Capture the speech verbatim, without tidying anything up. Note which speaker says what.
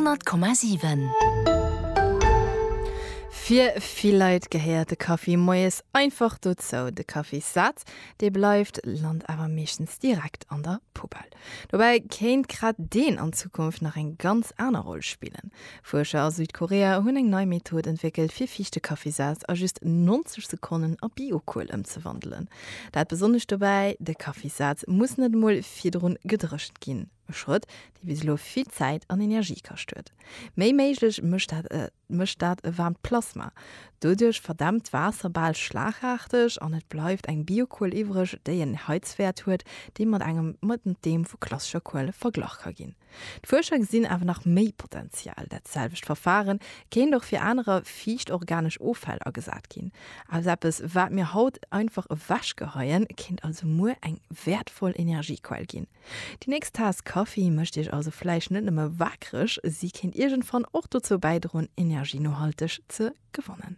Speaker 1: honnert Komma siwen.
Speaker 2: Fir vill Leit gehéiert de Kaffi moies einfach dozou. De Kaffissaz, dee bleift, lant awer meeschtens direkt an der Poubelle. Dobäi kéint grad deen an Zukunft nach eng ganz aner Roll spillen. Fuerscher a Südkorea hunn eng nei Method entwéckelt, fir fiichte Kaffissaz a just neunzeg Sekonnen a Biokuel ëmzewandelen. Dat Besonnescht dobäi, De Kaffissaz muss net emol virdrun gedréchent ginn. E Schrëtt, dee bis elo vill Zäit an Energie kascht huet. Méi méiglech mécht dat mécht dat e waarmt Plasma. Doduerch verdämpt d'Waasser bal schlagaarteg an et bleift eng Biokuel iwwreg, déi en Heizwäert huet, dee mat engem mat deem vu klassescher Kuel verglach ka ginn. D'Fuerscher gesinn awer nach méi Potenzial, Dat selwecht Verfaren kéint och fir anerer fiicht organesch Offäll agesat ginn. Aus eppes, wat mir haut einfach ewechgeheien, kéint also muer eng wäertvoll Energiequell ginn. Déi nächst Taass Kaffi mécht Iech also vläicht net nëmme waakreg, si kéint iergendwann och dozou bäidroen, Energie nohalteg ze gewannen.